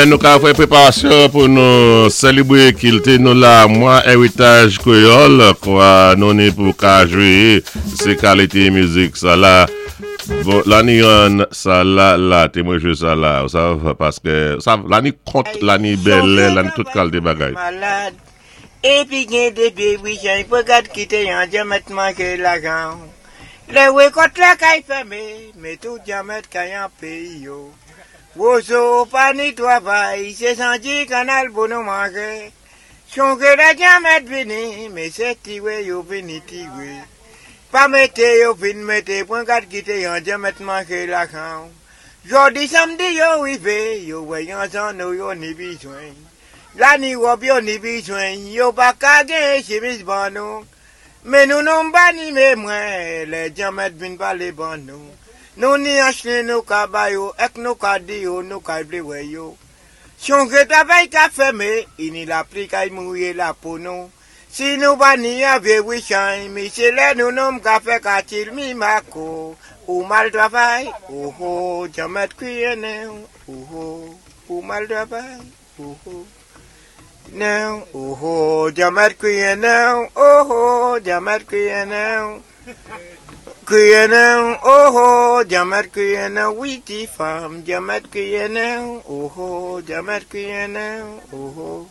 Nou ka fè préparasyon pou nou sélébwé kilti nou la, mwa éritaj kwéyòl kwa, nou ni pou ka jwé sé kalité mizik sa la. Bon, la ni youn sa la la, té mwen jwé sa la, ou sav, paské, ou sav, la ni kont, la ni bèlè, la ni tout kalité bagay. Malad. Épi gen dé pyé bwichay pou gad kité yon dyanmèt manjé lajan. Lè wékòt la kay fèmé, mé tout dyanmèt kay an péyi yo. Wozo pa ni twavay, sé sandi kannal pou nou manjé. Chonjé lè dyanmèt vini, mé sé tiwé yo vini tiwé. Pa mété yo vin mété, pwan gad kité yon dyanmèt manjé lajan. Jòdi sanmdi yo wivé, yo wè yon zanno yo ni bizwen. La ni wòb yo ni bizwen, yo pa ka gen chimis ban nou. Mé nou nou pa ni mwen, lè dyanmèt vin palé ban nou. Nou ni an chlen nou ka ba yo, èk nou ka di yo, nou ka vlé wè yo. Chonjé travay ka fèmé, i ni lapli kay mouyé la pou nou. Si nou pa ni an vyé bwichay, mi sé lè nou nonm ka fè katil mi mako. Ou mal travay, oh oh, dyanmèt kwiyé nen, oh oh, ou mal travay, oh oh. Nen, oh oh, dyanmèt kwiyé nen, oh oh, dyanmèt kwiyé nen. Kwiyé nen, oh oh, dyanmèt kwiyé nen, wi ti fanm, dyanmèt kwiyé nen, oh oh, dyanmèt kwiyé nen, oh oh.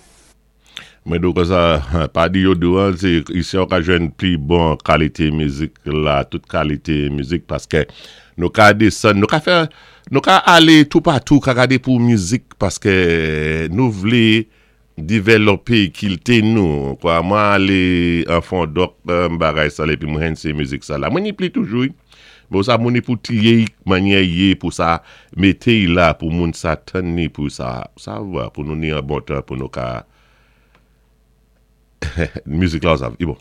Mwen di kon sa, pa di yo di an, sé isi ou ka jwenn pli bon kalité mizik la, tout kalité mizik, paské nou ka désann, nou ka fè, nou ka alé toupatou, ka gadé pou mizik, paské nou vlé divèlopé kilti nou, kwa. Mwen alé an Fondòk, bagay sa la, épi mwen jwenn sé mizik sa la. Mwen ni pli toujou, bon sa moun ni pou triyé manyè yé pou sa mété la pou moun sa tann ni pou sa, sa va, pou nou ni an bon tan pou nou ka mizik la, sa, i bon.